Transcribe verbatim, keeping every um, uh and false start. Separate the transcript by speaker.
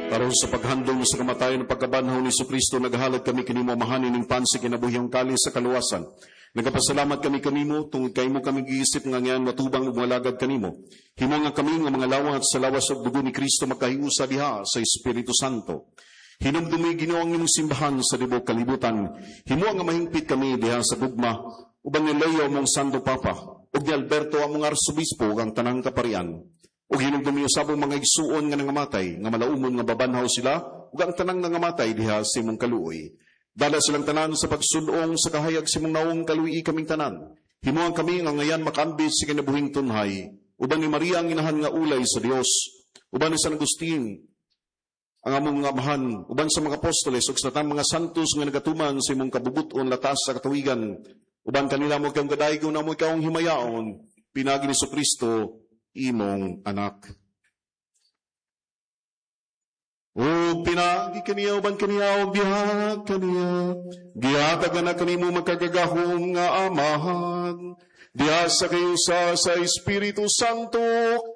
Speaker 1: Aron sa paghandom sa kamatayon ug pagkabanhaw ni Kristo, naghalad kami kanimo, Amahan, ining pan sa kinabuhi, kalis sa kaluwasan. Nagapasalamat kami kanimo tungod kay imo kami giisip nga angayang matubang ug moalagad kanimo. Himo nga kami nga mga lawat sa lawas ug dugo ni Kristo makahiusa diha sa Espiritu Santo. Hinumdumi, Ginoo, ang imong simbahan sa tibuok kalibutan. Himo nga mahingpit kami diha sa gugma uban ni Leo, among Santo Papa, ug ni Alberto, among Arsobispo, ug ang tanang kaparian. Ug hinumdumi usab ang mga igsuon nga nangamatay, nga malaumon nga mabanhaw sila, ug ang tanang nangamatay diha sa imong kaluoy. Dala silang tanan sa pagsud-ong sa kahayag sa imong nawong, kaluy-i kaming tanan. Himuan kami nga angayan makaambit sa kinabuhing tunhay, uban ni Maria, ang Inahan nga ulay sa Dios, uban ni San Agustin, ang among amahan, uban sa mga apostoles ug sa tanang mga santos nga nagatuman sa imong kabubut-on latas sa katuwigan. Uban kanila amo kang gadaygon, amo kang himayaon, pinaagi ni Kristo, imong Anak. O pinaagi kaniya, uban kaniya, ug diha kaniya, gihatag na kanimo makagagahom nga Amahan, diha sa kahiusa sa Espiritu Santo.